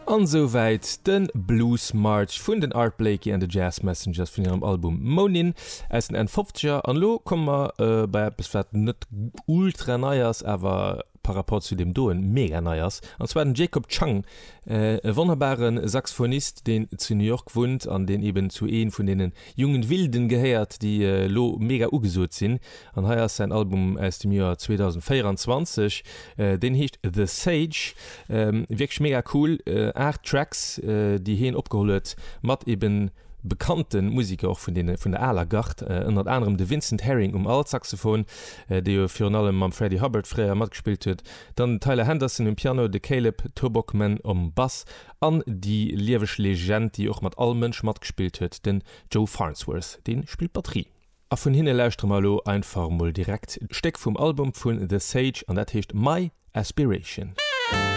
An esouwäit de Blues March vun den Art Blakey and the Jazz Messengers vun hirem Album Moanin' aus den Enn Fofzeger. An elo komme mer bei eppes wat net ultra nei ass, awer par rapport zu deem doen mega nei ass, an zwar den Jacob Chang, e wonnerbare Saxophonist deen zu New York wunnt an deen eben zu ee vun deene jungen Wilden gehéiert, déi elo mega ugesot sinn. An hei ass säin Album aus dem Joer 2024, deen heescht The Sage. Wierklech mega cool, 8 Tracks, déi heen opgeholl huet mat eben bekannte Musiker och vun deene vun der aler Gard, ënnert anerem de Vincent Herring um Altsaxophon, dee jo virun allem mam Freddie Hubbard fréier matgespillt huet, dann den Tyler Henderson um Piano, de Caleb Tobocman um Bass an déi lieweg Legend, déi och mat all Mënsch matgespillt huet, den Joe Farnsworth, dee spillt Batterie. A vun hinne lauschtere mer elo einfach mol direkt d'Stéck vum Album vun The Sage an dat heescht My Aspiration.